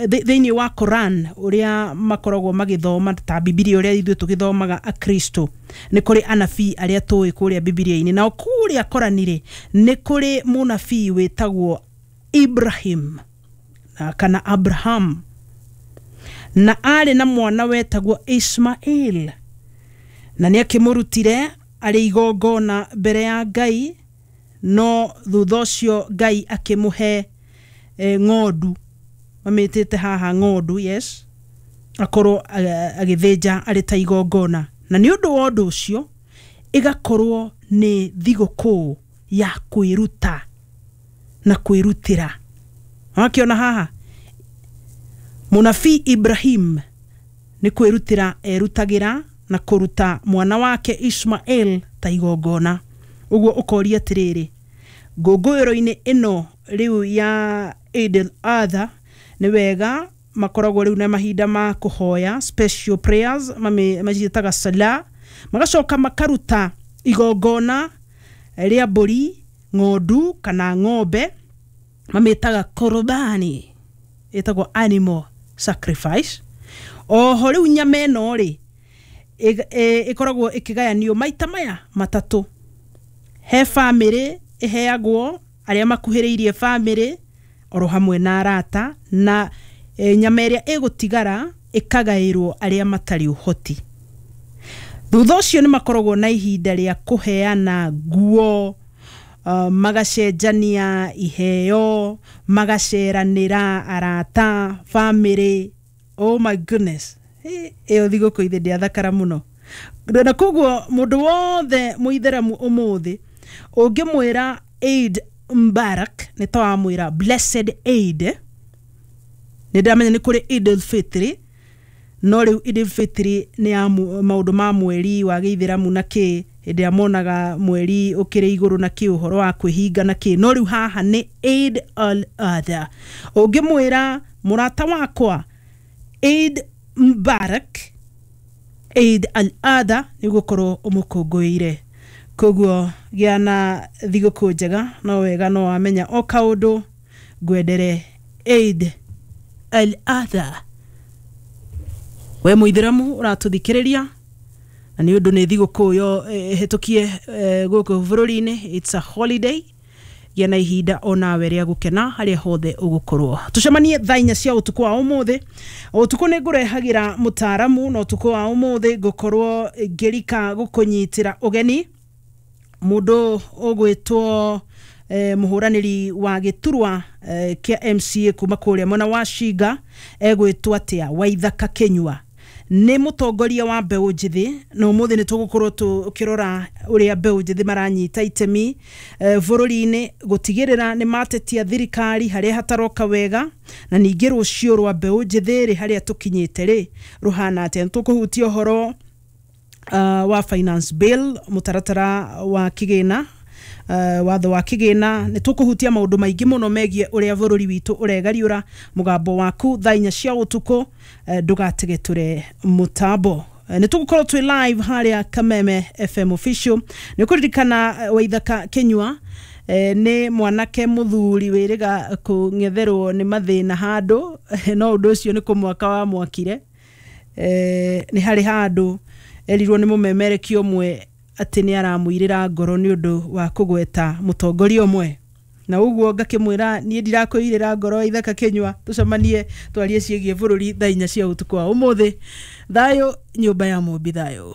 Thĩinĩ wa Koran ũrĩa makoragwo magĩthoma ta Bibilia ũrĩa ithuĩ tũgĩthomaga Akristo, nĩ kũrĩ anabii arĩa tũĩ kũrĩa Bibilia-inĩ. Nao kũrĩa Korani-rĩ, nĩ kũrĩ mũnabii wĩtagwo Ibrahim kana Abraham, na arĩ na mwana wetagwo Ismail, na nĩ akĩmũrutire arĩ igongona mbere ya Ngai, no thutha ũcio Ngai akĩmũhe ng'ondu, mamĩtĩte haha ng'ondu, yes, akorwo agĩthĩnja arĩ ta igongona. Na nĩ ũndũ wa ũndũ ũcio ĩgakorwo nĩ thigũkũ ya kwĩruta na kwĩrutĩra. Wakĩona haha mũnabii Ibrahim nĩ kwĩrutĩra erutagĩra na kũruta mwana wake Ismael ta igongona. Ũguo ũkoria atĩrĩrĩ, ngũngũĩro-inĩ ĩno rĩu ya Eid al-Adha, nĩ wega makoragwo rĩu na mahinda ma kũhoya, special prayers maciĩtaga sala, magacoka makaruta igongona rĩa mbũri, ng'ondu kana ng'ombe, mamĩtaga korobani, ĩtagwo animal sacrifice. Oho rĩu nyama ĩno rĩ ĩkoragwo ĩkĩgayanio maita maya matatũ. He bamĩrĩ ĩheagwo, arĩa makuhĩrĩirie bamĩrĩ oro hamwe na arata, na nyama ĩrĩa ĩgũtigara ĩkagaĩrwo arĩa matarĩ ũhoti. Thutha ũcio nĩ makoragwo na ihinda rĩa kũheana nguo, magacenjania iheo, magaceranĩra arata, bamĩrĩ. Oh my goodness, ĩyo thigũkũ ithe ndĩathakara mũno. Na koguo mũndũ wothe mũithĩramu ũmũthĩ ũngĩmwĩra Eid Mubarak, nĩ ta wamwĩra blessed Eid. Nĩ ndamenya nĩ kũrĩ Eid al-Fitri, no rĩu Eid al-Fitri nĩ ya maũndũ ma mweri wa gĩithĩramu na kĩ, hĩndĩ ĩrĩa monaga mweri ũkĩrĩ igũrũ na kĩ, ũhoro wa kwĩhinga na kĩ. No rĩu haha nĩ Eid al-Adha. Ũngĩmwĩra mũrata wakwa Eid Mubarak, Eid al-Adha, nĩ ũgũkorwo ũmũkũngũĩire. Koguo gĩa na thigũkũ njega. No wega no wamenya o kaũndũ, ngwendere Eid al-Adha we mũithĩramu ũratũthikĩrĩria, na nĩ ũndũ nĩ thigũkũ yo ĩhĩtũkie gũkũ bũrũri-inĩ, it's a holiday. Gĩa na ihinda onawe rĩa gũkena harĩa hothe ũgũkorwo. Tũcemanie thaa 4 cia ũtukũ wa ũmũthĩ. Ũtukũ nĩ ngũrehagĩra mũtaaramu, na ũtukũ wa ũmũthĩ ngũkorwo ngĩrika gũkũnyitĩra ũgeni mũndũ ũgwĩtwo mũhũranĩri wa gĩturwa kĩa MCA kuma kũrĩa mwena wa Shinga, egwĩtwo atĩa, Waithaka Kĩnyua. Nĩ mũtongoria wa mbeũ njĩthĩ, na ũmũthĩ nĩ tũgũkorwo tũkĩrora ũrĩa mbeũ njĩthĩ maranyita itemi bũrũri-inĩ gũtigĩrĩra nĩ matetia thirikari harĩa hataroka wega, na ningĩ rũciũ rwa mbeũ njĩthĩ rĩ, harĩa tũkinyĩte rĩ, rũhana atĩa. Nĩ tũkũhutia ũhoro wa finance bill, mũtaratara wa kĩgĩna, watho wa kĩgĩna. Nĩ tũkũhutia maũndũ maingĩ mũno megiĩ ũrĩa bũrũri witũ ũregariũra. Mũgambo waku thaa 4 cia ũtukũ, ndũgategetũre mũtambo. Nĩ tũgũkorwo twĩ live harĩa Kameme FM official. Nĩ ũkũririkana Waithaka Kĩnyua nĩ mwanake mũthuri wĩrĩga kũng'etherwo nĩ mathĩna handũ, no ũndũ ũcio nĩ kũmwaka wa mwakire. Nĩ harĩ handũ erirwo nĩ mũmemerekia ũmwe atĩ nĩ aramũirĩra ngoro nĩ ũndũ wa kũgweta mũtongoria ũmwe, na ũguo ngakĩmwĩra niĩ ndirakwĩirĩra ngoro. Ithaka Kĩnyua, tũcemanie twarie ciĩgiĩ bũrũri thaa 4 cia ũtukũ wa ũmũthĩ. Thayũ nyũmba ya mũmbi, thayũ.